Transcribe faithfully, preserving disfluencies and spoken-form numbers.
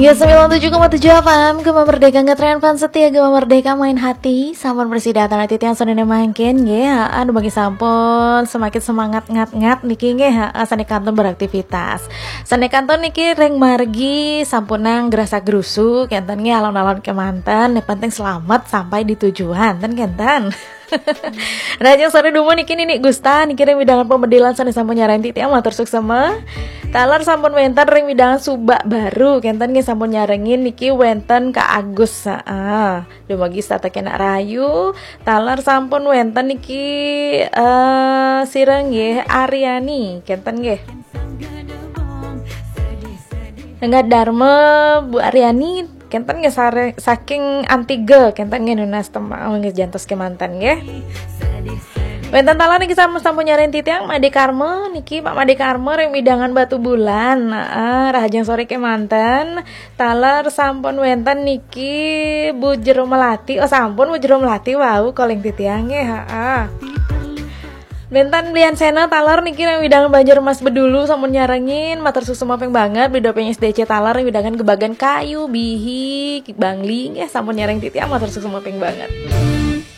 Ya, sembilan tujuh koma tujuh F M, Gema Merdeka, ngetren fans setia Gema Merdeka, main hati. Sampun prasida titiang sané mangkin, nggih. Anu, bagi sampun semakin semangat ngat-ngat niki, nggih. Sané kantun beraktivitas. Sané kantun niki ring margi sampunang grasa-grusu, kénten nggih, alon-alon kémanten. Yang penting selamat sampai di tujuan, ten kénten. Rahajeng soré dumun niki Nini Gusta niki ring wewidangan Pamedilan sané sampun nyarengin titiang, matur suksma. Taler sampun wénten ring wewidangan Subak Baru, kénten nggih sampun nyarengin niki wénten Kak Agus, heeh. Dumugi setata kenak rahayu. Taler sampun wénten niki, eh, sira nggih Aryani, kénten nggih. Nengah Dharma, Bu Aryani, kénten nggih sare-, saking Antiga, kénten nggih nunas tembang nggih jantos kémanten nggih. Wénten taler niki sampun, sampun nyarengin titiang Made Karma niki, Pak Made Karma ring wewidangan Batubulan. Heeh, rahajeng soré kémanten. Taler sampun wénten niki Bu Jero Melati. Oh, sampun Bu Jero Melati wau calling titiang nggih, heeh. Wénten Lian Sena taler niki ring wewidangan Banjarmas Bedulu sampun nyarengin, matur suksma ping banget. Beli doping S D C taler ring wewidangan Gebagan Kayu, Bihi, Bangli nggih sampun nyarengin titiang, matur suksma ping banget.